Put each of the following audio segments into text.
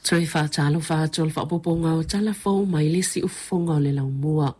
Toe faatalofa atu o le faaopoopoga o tala fou mai le siufofoga o le laumua.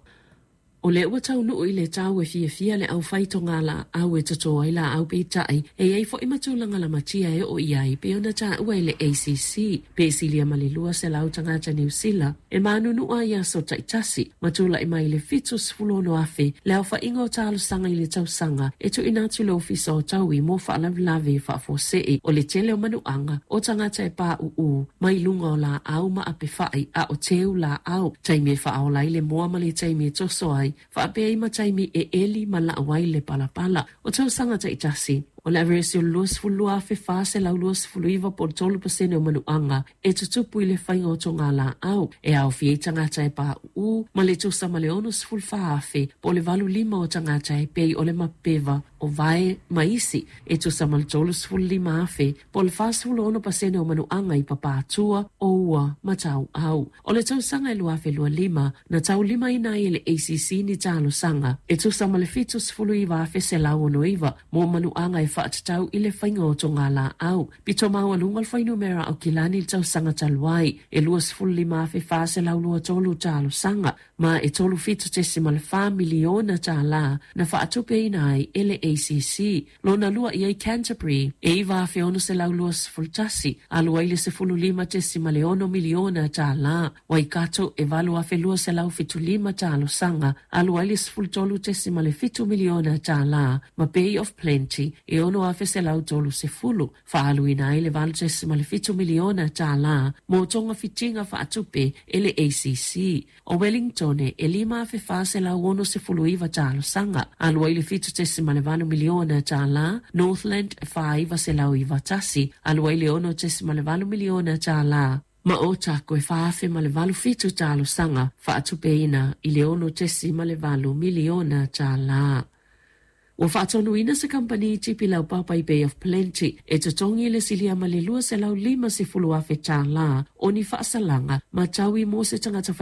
O lea ua taunuu i le tau e fiafia le aufai togalaau e toto ai laau peitai e i ai foi ma tulaga lamatia e oo i ai pei ona taua e le ACC pe silia ma le 200 tagata Niu Sila e manunua i aso taitasi ma tulai mai le 76,000 le aofaiga o talosaga i le tausaga e tuuina atu i le Ofisa o Taui mo Faalavelave Faafuasei o le tele o manuaga o tagata e pauu mai luga o laau ma apefai a o teu laau, taimi e faaola ai le moa ma le taimi e toso ai, faapea ai ma taimi e eli ma lau ai le palapala. O tausaga taitasi, o le averese o le 22,429 po o le 3% o manuaga e tutupu i le faiga o togalaau, e aofia ai tagata e pauu ma le tusa ma le 64,000 po o le 85 o tagata e pei o le mapeva o vae ma isi e tusa ma le 35,000 po o le 46% o manuaga i Papaatua, o ua ma Tauau. O le tausaga e 2025, na taulimaina ai e le ACC ni talosaga e tusa ma le 79,169 mo manuaga e faatatau i le faiga o togalaau. Pito maualuga le fuainumera Aukilani i le tausaga talu ai, e 25,423 talosaga ma e $37.4 miliona tālā na faatupeina ai e le ACC. Lona lua i ai Canterbury e 9,621, alu ai le $15.6 miliona tālā. Waikato e 8,275 talosaga, alu ai le $13.7 miliona tālā, ma Bay of Plenty e 6,130, faaaluina ai le $8.7 miliona tālā mo togafitiga faatupe e le ACC. O Wellington e 5,469 talosaga, alu ai le $7.8 miliona tālā, Northland e 4,991, alu ai le $6.8 miliona tālā, ma Otago e 4,087 talosaga, faatupeina i le $6.8 miliona tālā. Ua faatonuina se kamupani tipi laupapa i Bay of Plenty e totogi le silia ma le $250,000 o ni faasalaga ma taui mo se tagata.